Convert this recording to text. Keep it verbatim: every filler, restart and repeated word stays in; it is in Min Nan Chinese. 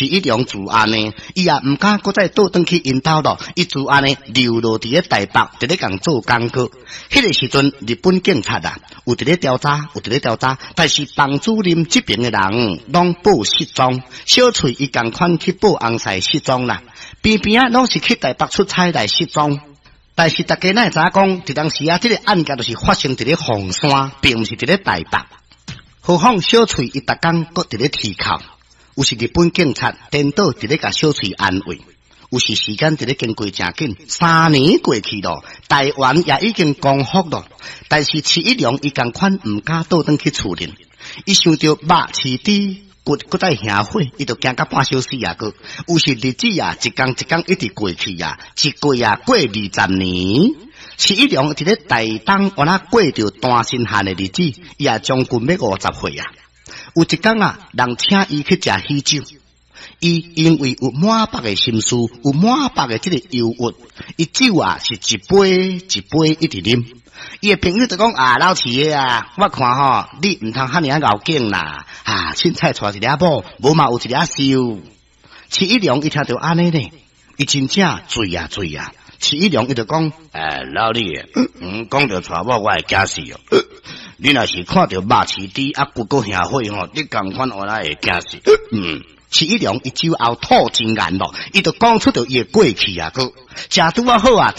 徐一龍就按呢，伊也毋敢閣再倒轉去𪜶兜囉，伊就按呢留落佇咧台北，佇咧共做工課。彼個時陣，日本警察啊，有佇咧調查，有佇咧調查，但是房主任這邊的人攏報失蹤，小翠伊仝款去報翁婿失蹤啦，邊邊仔攏是去台北出差來失蹤。但是大家哪會知影講，佇當時啊，這個案件就是發生佇咧鳳山，並毋是佇咧台北。何況小翠伊逐工閣佇咧啼哭，有時日本警察顛倒佇咧共小翠安慰，有時時間佇咧經過誠緊，三年過去囉，台灣也已經光復囉，但是徐一龍伊仝款毋敢倒轉去厝裡，伊想著肉飼豬骨閣再燃火，伊就驚甲半小死啊！閣有時日子啊，一工一工一直過去啊，一過啊過二十年。徐一龍佇咧台東，按怎過著單身漢的日子，伊也將近欲五十歲啊。有一工啊，人請伊去食喜酒，伊因為有滿腹的心事，有滿腹的這個憂鬱，伊酒啊是一杯一杯一直啉。伊的朋友就講啊，老徐的啊，我看吼，你毋通遐爾仔𠢕景啦，啊，凊彩娶一个某，無嘛有一个秀。徐一龍伊聽著按呢咧，伊真正醉啊醉啊。徐一龍伊就講，欸，老李，嗯，講著娶某我會驚死哦。你若是看著肉飼豬啊骨閣燃火吼，你仝款我來會驚死。嗯，徐一龍伊酒後吐真言囉，伊就講出著伊的過去啊，閣食拄仔好啊。